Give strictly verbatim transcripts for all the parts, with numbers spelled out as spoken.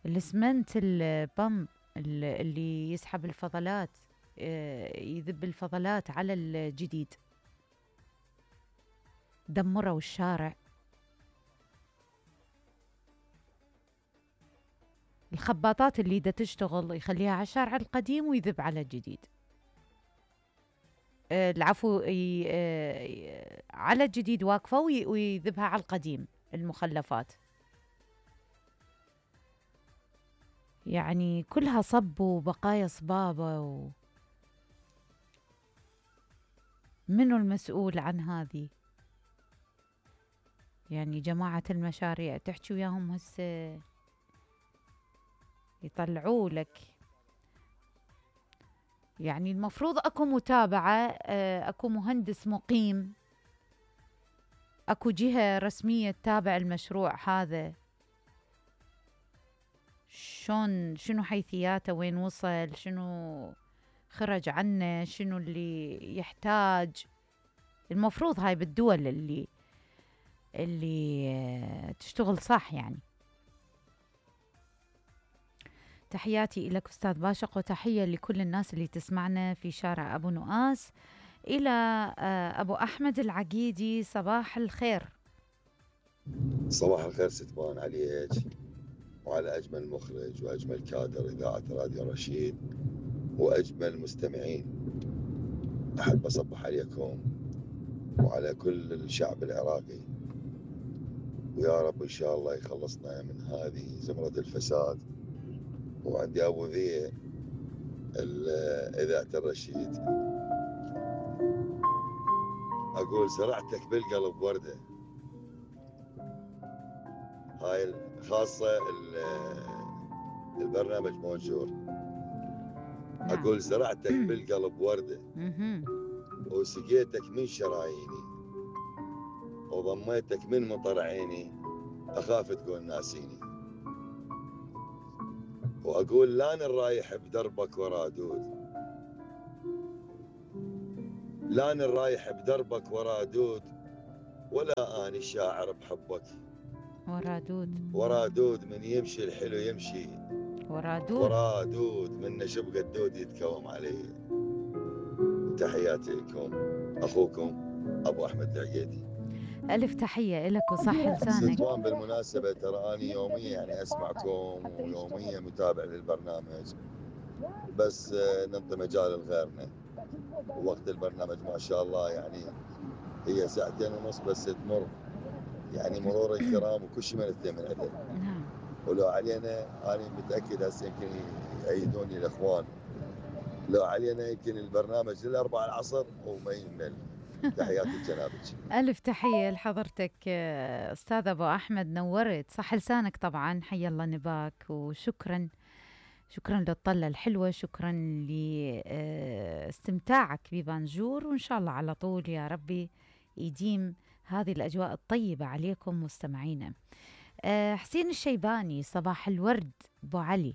الاسمنت البامب اللي يسحب الفضلات، يذب الفضلات على الجديد، دمروا الشارع. الخباطات اللي دا تشتغل يخليها على الشارع القديم ويذب على الجديد. العفو، على الجديد واقفة ويذبها على القديم المخلفات. يعني كلها صب وبقايا صبابة و... منو المسؤول عن هذه؟ يعني جماعة المشاريع تحكي وياهم هسه يطلعوا لك. يعني المفروض اكو متابعة، اكو مهندس مقيم، اكو جهة رسمية تتابع المشروع هذا، شلون، شنو حيثياته، وين وصل، شنو خرج عنه، شنو اللي يحتاج. المفروض هاي بالدول اللي اللي تشتغل صح. يعني تحياتي لك أستاذ باشق، وتحية لكل الناس اللي تسمعنا في شارع أبو نؤاس. إلى أبو أحمد العقيدي، صباح الخير. صباح الخير ستبان عليك وعلى أجمل مخرج وأجمل كادر إذاعة راديو رشيد وأجمل مستمعين. أحب أصبح عليكم وعلى كل الشعب العراقي، ويا رب إن شاء الله يخلصنا من هذه زمرة الفساد. وعندي أبو ذي إذاعة الرشيد أقول زرعتك بالقلب وردة. هاي خاصة البرنامج مونجور. أقول زرعتك بالقلب وردة وسقيتك من شراييني وضميتك من مطر عيني، أخاف تقول ناسيني. وأقول لان الرايح بدربك ورا دود، لان الرايح بدربك ورا دود، ولا أني شاعر بحبك ورا دود. ورا دود من يمشي الحلو يمشي ورا دود، ورا دود من نشبق الدود يتكوم عليه. تحياتي لكم، أخوكم أبو أحمد العقيدي. ألف تحية لك وصح لسانك. ستوان بالمناسبة ترى أني يوميا يعني أسمعكم ويوميا متابع للبرنامج، بس ننطي مجال لغيرنا. ووقت البرنامج ما شاء الله يعني هي ساعتين ونص بس تمر يعني مرور الكرام، وكل شيء ما نتمنى من عدل. ولو علينا أنا متأكد هسه يمكن يأيدوني الإخوان، لو علينا يمكن البرنامج للأربعة العصر وما يمل. تحياتي لجنابك. ألف تحية لحضرتك أستاذ أبو أحمد، نورت صح لسانك طبعا. حي الله نباك، وشكرا شكرا للطلة الحلوة، شكرا لاستمتاعك ببانجور، وإن شاء الله على طول يا ربي يديم هذه الأجواء الطيبة عليكم مستمعينا. حسين الشيباني، صباح الورد أبو علي.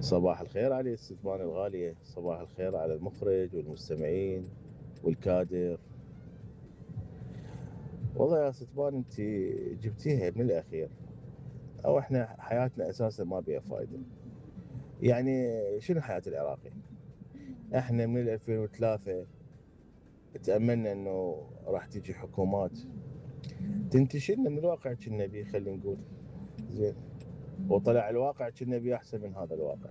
صباح الخير علي الستبان الغالية، صباح الخير على المخرج والمستمعين والكادر. والله يا ستبان انت جبتيها من الأخير، أو احنا حياتنا أساسا ما بيها فايدة. يعني شنو حياة العراقي؟ احنا من ألفين وثلاثة تأملنا انه راح تيجي حكومات تنتشلنا من الواقع كنا بيه، خلينا نقول زين، وطلع الواقع كنا بيه احسن من هذا الواقع.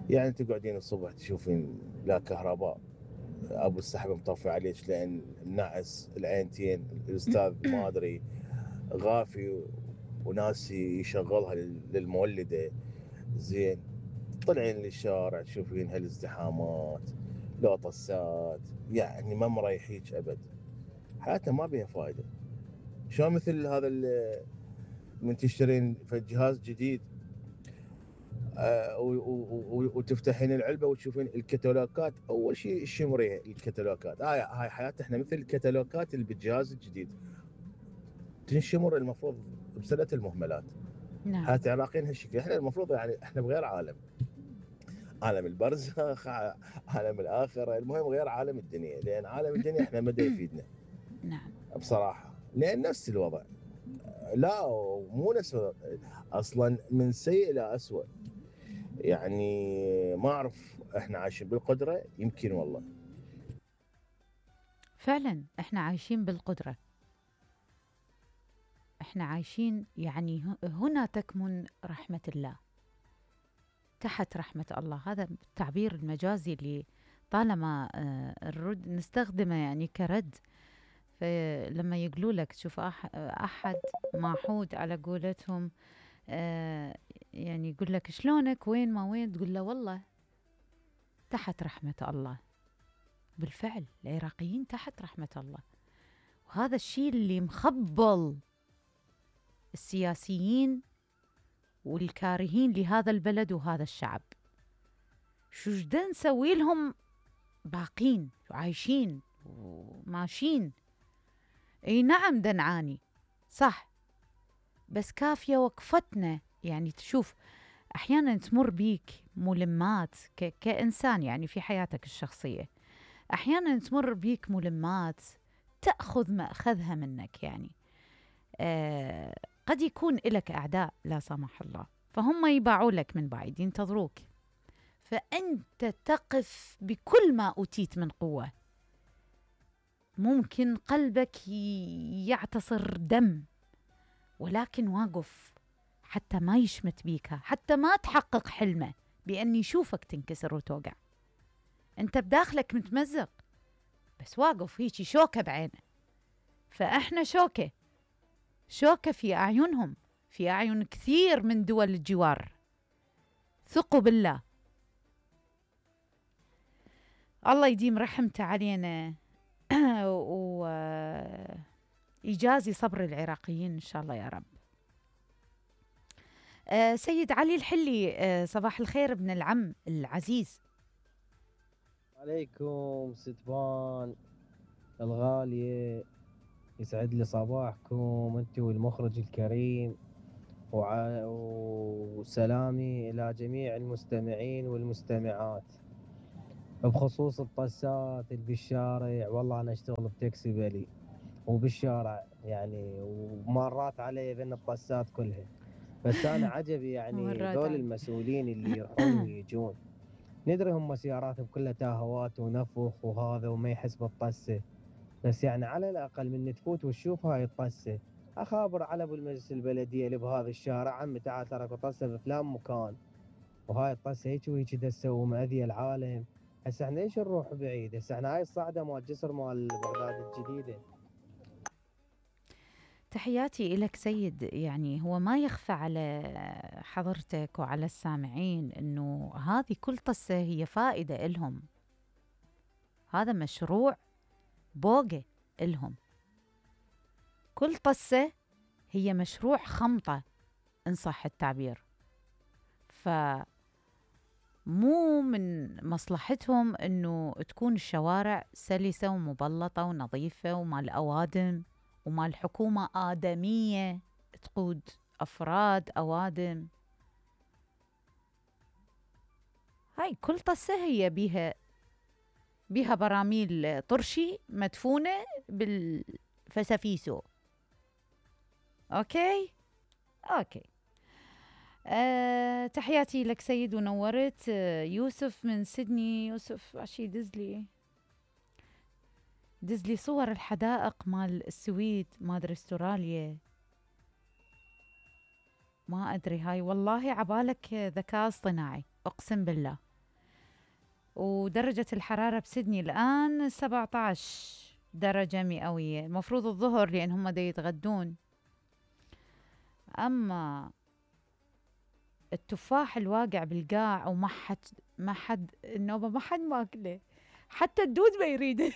يعني تقعدين الصبح تشوفين لا كهرباء، ابو السحب مطفي عليك لان النعس العينتين، الاستاذ ما ادري غافي وناس يشغلها للمولده زين. طلعين للشارع تشوفين هالازدحامات، لو طسات، يعني ما مريحيك ابد. حياتنا ما بيها فايده. شلون مثل هذا من تشترين في جهاز جديد آه وتفتحين العلبه وتشوفين الكتالوجات، اول شيء الشمريه الكتالوجات. هاي هاي حياتنا احنا مثل الكتالوجات اللي بالجهاز الجديد تنشمر المفروض بسنه المهملات. نعم. حياه العراقيين هالشكل. احنا المفروض يعني احنا بغير عالم، عالم البرزخ، عالم الاخره، المهم غير عالم الدنيا، لان عالم الدنيا احنا ما دا يفيدنا. نعم بصراحه، لان نفس الوضع لا مو نفس، اصلا من سيء الى اسوء. يعني ما اعرف احنا عايشين بالقدره يمكن والله. فعلا احنا عايشين بالقدرة، احنا عايشين يعني ه- هنا تكمن رحمة الله، تحت رحمة الله. هذا التعبير المجازي اللي طالما آه، الرد نستخدمه يعني كرد. فلما يقولوا لك شوف أح أحد معحود على قولتهم، آه يعني يقول لك شلونك وين ما وين، تقول له والله تحت رحمة الله. بالفعل العراقيين تحت رحمة الله، وهذا الشيء اللي مخبل السياسيين والكارهين لهذا البلد وهذا الشعب. شو جدا نسوي لهم باقين وعايشين وماشيين؟ اي نعم دا نعاني صح، بس كافية وقفتنا. يعني تشوف احيانا تمر بيك ملمات ك- كإنسان يعني في حياتك الشخصية، احيانا تمر بيك ملمات تأخذ ما أخذها منك. يعني آه قد يكون لك أعداء لا سمح الله، فهم يباعوا لك من بعيد ينتظروك، فأنت تقف بكل ما أوتيت من قوة. ممكن قلبك ي- يعتصر دم، ولكن واقف حتى ما يشمت بيك، حتى ما تحقق حلمه بأن يشوفك تنكسر وتوقع. أنت بداخلك متمزق، بس واقف هيجي شوكة بعينه. فإحنا شوكة، شوكة في أعينهم، في أعين كثير من دول الجوار. ثقوا بالله، الله يديم رحمته علينا ويجازي صبر العراقيين إن شاء الله يا رب. آه سيد علي الحلي، آه صباح الخير ابن العم العزيز. عليكم ستبان الغالية، يسعد لي صباحكم انت والمخرج الكريم، وع- وسلامي إلى جميع المستمعين والمستمعات. بخصوص الطسات اللي بالشارع، والله أنا أشتغل بتاكسي بلي وبالشارع يعني، ومرات علي بين الطسات كلها. بس أنا عجبي يعني مرات ذول علي. المسؤولين اللي يروحون ويجون. ندري هم سياراتهم كلها تاهوات ونفخ وهذا وما يحس بالطسة، بس يعني على الأقل من تفوت وتشوف هاي الطسة، أخابر على أبو المجلس البلدية اللي بهذا الشارع، عمي تعال تراكو طسة بفلان مكان، وهاي الطسة هيك وهيك دسة ومأذية العالم. هسه احنا ليش نروح بعيد؟ هسه احنا هاي الصعدة مال جسر مال بغداد الجديدة. تحياتي إلك سيد. يعني هو ما يخفى على حضرتك وعلى السامعين أنه هذه كل طسة هي فائدة إلهم، هذا مشروع بوقة إلهم. كل طسة هي مشروع خمطة إن صح التعبير. فمو من مصلحتهم أنه تكون الشوارع سلسة ومبلطة ونظيفة ومال أوادم، ومال حكومة آدمية تقود أفراد أوادم. هاي كل طسة هي بيها بيها براميل طرشي مدفونة بالفسافيسو. أوكي أوكي. أه تحياتي لك سيد ونورت. أه يوسف من سيدني. يوسف عشي دزلي دزلي صور الحدائق مال السويد، ما أدري استراليا، ما أدري. هاي والله عبالك ذكاء اصطناعي أقسم بالله. ودرجة الحرارة بسيدني الآن سبعة عشر درجة مئوية، المفروض الظهر لأن هم دا يتغدون. أما التفاح الواقع بالقاع وما حد ما حد النوبة ما حد ماكله، حتى الدود ما يريده